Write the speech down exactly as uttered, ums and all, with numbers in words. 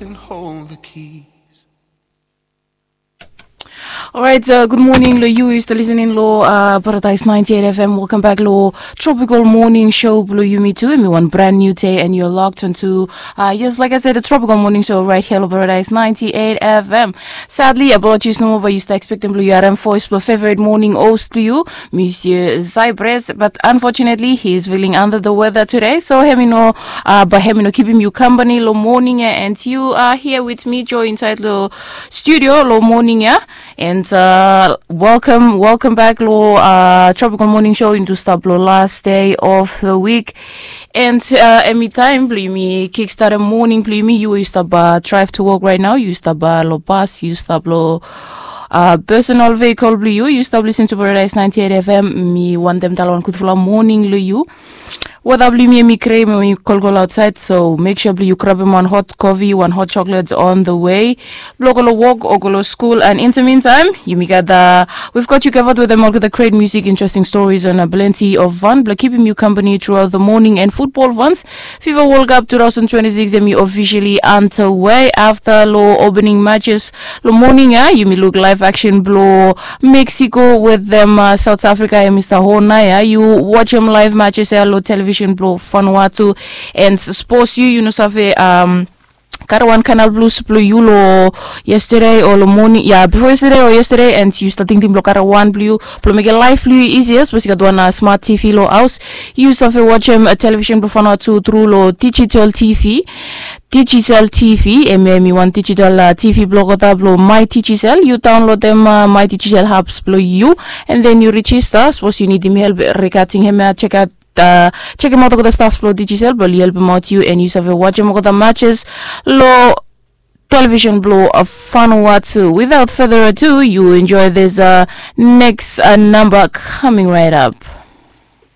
And hold the keys. Alright, uh, good morning lo yu yu stap listening lo uh, Paradise ninety-eight F M. Welcome back lo Tropical Morning Show blo yumi tu. Hemi wan brand new day and you're locked onto uh, yes, like I said, the Tropical Morning Show right here lo Paradise ninety-eight F M. Sadly, apologies nomo, but yu stap expecting blo yu harim voice blo favorite morning host blo yu, Monsieur Cypress, but unfortunately he is feeling under the weather today. So hemi no, uh, but hemi no kipim yu company lo morning ya, and you are here with me, Joy, inside lo studio lo morning ya. And uh, welcome, welcome back lo uh, Tropical Morning Show into stap lo last day of the week. And uh, hemi taem blo yumi kickstart morning blo yumi, yu yu stap uh, drive to work right now, yu stap uh, lo bus, yu stap lo uh, personal vehicle blo yu, yu stap listen to Paradise ninety-eight F M. Mi wantem talem wan gudfala morning lo yu. Weta blo yumi hemi gre, hemi kolkol outside, so make sure blo yu grabim wan hot coffee, wan hot chocolate on the way blo go lo work o go lo school. And in the meantime, yumi gat uh, we've got you covered with them all, the great music, interesting stories, and uh, plenty of fun blo kipim yu company throughout the morning. And football fans, FIFA World Cup two thousand twenty-six hemi officially underway after lo opening matches lo morning ya. Yumi luk live action blo Mexico wetem uh, South Africa ya, Mister Hona ya. Yu wajem live matches ya lo television blo Vanuatu. And suppose yu yu no save um, kare wan Canal Plus blo yu lo yesterday o lo morning ya, before yesterday o yesterday, and yu stap tingting blo kare wan blo yu blo mekem laef blo yu easier, suppose yu gat wan uh, smart T V lo haos, yu save wajem uh, television blo Vanuatu tru lo digital T V. Digicel T V, hemia hemi wan digital uh, T V blo olgeta blo My Digicel. Yu downloadem uh, My Digicel apps blo yu, and then yu register. Sapos yu nidim help regarding hemia, check out uh, check him out olgeta staffs blo Digicel blo oli helpim aot yu, and yu save wajem olgeta matches lo television blo uh, Vanuatu. Without further ado, you enjoy this uh, next uh, number coming right up.